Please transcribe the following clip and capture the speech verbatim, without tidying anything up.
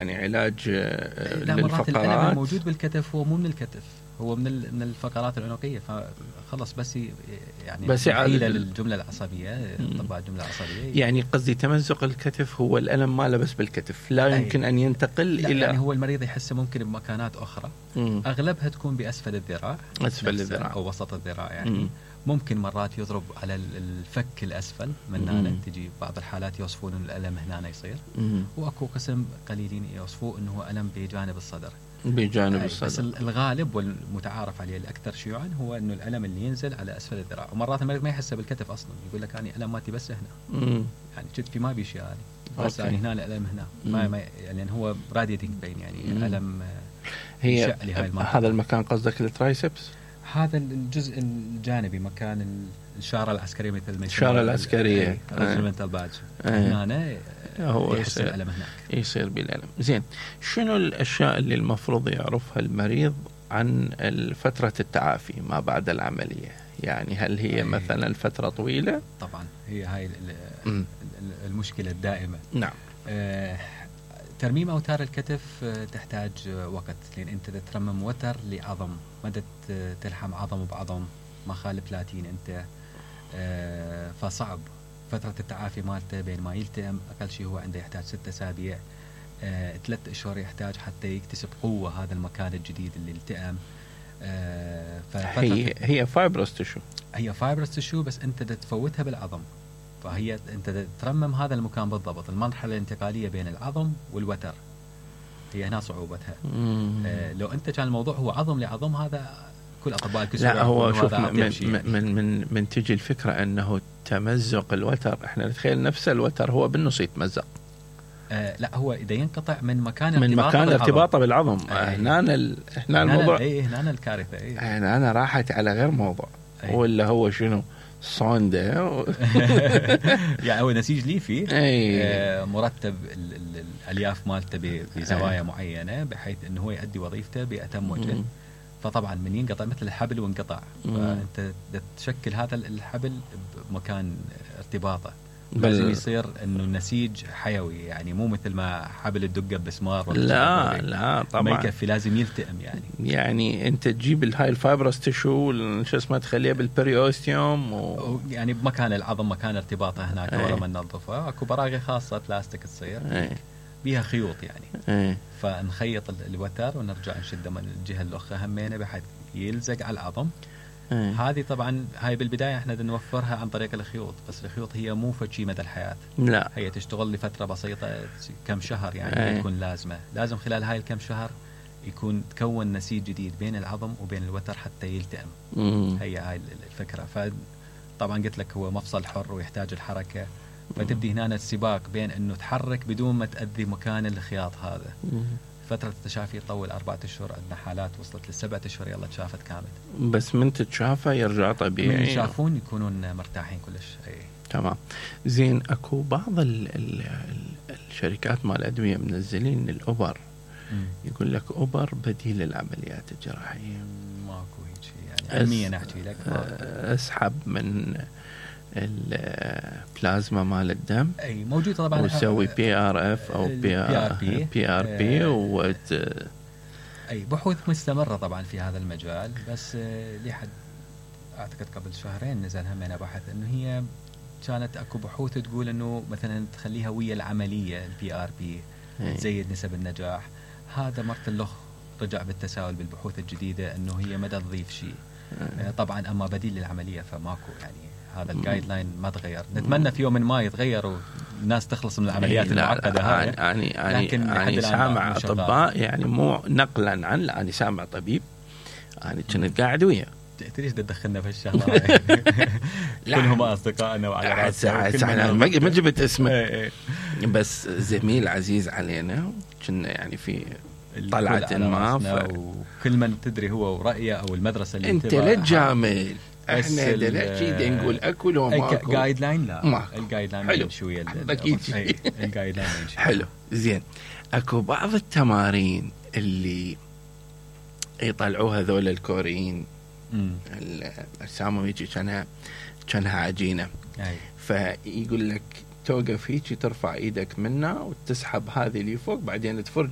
يعني علاج لا مرات الألم للفقرات الموجود بالكتف هو مو من الكتف، هو من من الفقرات العنقية، فخلص بس يعني بس حيلة للجملة العصبية، طبعا الجملة العصبية. يعني قصدي تمزق الكتف هو الألم ما له بس بالكتف، لا يمكن أن ينتقل لا إلى يعني هو المريض يحسه ممكن بمكانات أخرى. مم. أغلبها تكون بأسفل الذراع، أسفل الذراع أو وسط الذراع يعني. مم. ممكن مرات يضرب على الفك الأسفل من هنا، تجي بعض الحالات يوصفون أن الألم هنا يصير. مم. وأكو قسم قليلين يوصفوه أنه ألم بجانب الصدر. بجانب الصدر. بس الغالب والمتعارف عليه الأكثر شيوعا هو أنه الألم اللي ينزل على أسفل الذراع، ومرات المريض ما يحسه بالكتف أصلا، يقول لك أنا ألم ماتي بس هنا. مم. يعني كتفي ما بيشي يعني، بس يعني هنا الألم هنا. ما, ما يعني هو راديتنج بين يعني مم. ألم هي هذا المكان قصدك الترايسبس؟ هذا الجزء الجانبي، مكان الشارة العسكرية مثل ما الشارة العسكرية ريجمنتال بادج هنا هو يحس الألم هناك، يصير بالألم. زين، شنو الأشياء اللي المفروض يعرفها المريض عن فترة التعافي ما بعد العملية؟ يعني هل هي مثلا فترة طويلة؟ طبعا هي هاي المشكلة الدائمة. نعم. آه ترميم أوتار الكتف تحتاج وقت، لأن أنت ترمم وتر لعظم، ما تلحم عظم بعظم، ما خالف بلاتين أنت. آه فصعب فترة التعافي مالته بين ما يلتئم، أقل شيء هو عنده يحتاج ستة أسابيع، آه ثلاث أشهر يحتاج حتى يكتسب قوة هذا المكان الجديد اللي التئم. آه هي هي فايبرس تشو، هي فايبرس تشو، بس أنت تفوتها بالعظم، فهي أنت ترمم هذا المكان بالضبط. المرحلة الانتقالية بين العظم والوتر هي هنا صعوبتها. آه لو أنت كان الموضوع هو عظم لعظم، هذا كل أطباء الكسور. لا هو شوف من من, من من من تجي الفكرة أنه تمزق الوتر، إحنا نتخيل نفس الوتر هو بالنص يتمزق. آه لا هو إذا ينقطع من مكان من مكان ارتباطه بالعظم. آه هنا ال... هنا الموضوع إيه هنا الكارثة. إيه هنا أنا راحت على غير موضوع. أيه. ولا هو شنو صوندا و... يعني هو نسيج ليفي. أيه. آه مرتب ال ال الألياف مالته بزوايا أيه. معينة، بحيث أنه هو يؤدي وظيفته بأتم وجه. فطبعا من ينقطع مثل الحبل وانقطع، فأنت تشكل هذا الحبل بمكان ارتباطه، لازم يصير انه النسيج حيوي، يعني مو مثل ما حبل الدقه بمسمار. لا لا طبعا ما يكفي، لازم يلتئم يعني. يعني انت تجيب الهاي الفايبرس تشو شو اسمه تخليها بالبريوستيوم و... يعني بمكان العظم، مكان ارتباطه هناك. ورا ما ننظفها اكو براغي خاصه بلاستيك تصير أي. بيها خيوط يعني أي. فنخيط الوتر ونرجع نشده من الجهه الاخرى همينه بحيث يلزق على العظم. أيه. هذه طبعا هاي بالبداية احنا نوفرها عن طريق الخيوط، بس الخيوط هي مو فشي مدى الحياة. لا هي تشتغل لفترة بسيطة كم شهر يعني. أيه. تكون لازمة لازم خلال هاي الكم شهر يكون تكون نسيج جديد بين العظم وبين الوتر حتى يلتئم. مم. هي هاي الفكرة. فطبعا قلت لك هو مفصل حر ويحتاج الحركة، فتبدي هنا السباق بين انه تحرك بدون ما تأذي مكان الخياط هذا. مم. فترة التشافي تطول أربعة أشهر، عندنا حالات وصلت للسبعة أشهر يلا تشافت كامل. بس من تتشافى يرجع طبيعي، من يشافون يكونون مرتاحين كلش. أي. تمام. زين، أكو بعض ال ال الشركات مال الأدوية منزلين الأوبر، مم. يقول لك أوبر بديل للعمليات الجراحية. ماكو هيك يعني علميا أحكي لك. أسحب من البلازما مال الدم، اي موجود طبعا، ويسوي بي ار اف او بي ار بي بي ار بي و اي بحوث مستمره طبعا في هذا المجال. بس لحد اعتقد قبل شهرين نزل همنا بحث انه هي كانت اكو بحوث تقول انه مثلا تخليها ويا العمليه البي ار بي تزيد نسب النجاح. هذا مرت اللخ رجع بالتساؤل بالبحوث الجديده انه هي ما تضيف شيء. طبعا اما بديل للعمليه فماكو يعني. هذا الجايد لاين ما تغير. نتمنى في يوم من ما يتغير والناس تخلص من العمليات المعقده هاي. يعني يعني يعني سامع اطباء يعني مو نقلا عن، يعني سامع طبيب يعني كنت قاعد وياه. ليش تدخلنا في الشغله؟ كلهم اصدقائنا وعلى راسنا. ما جبت اسمه، بس زميل عزيز علينا كنا يعني في طلعه ما، وكل من تدري هو ورأيه او المدرسه اللي انت لا جامل. احنا دلوقتي نقول اكل وماكل. جايد لاين لا الجايد لاين شويه اكيد الجايد لاين حلو. زين، اكو بعض التمارين اللي يطلعوها ذول الكوريين اجسامهم يجي كانها كانها عجينه، فيقول لك توقف هيك ترفع ايدك منه وتسحب هذه اللي فوق بعدين تفرج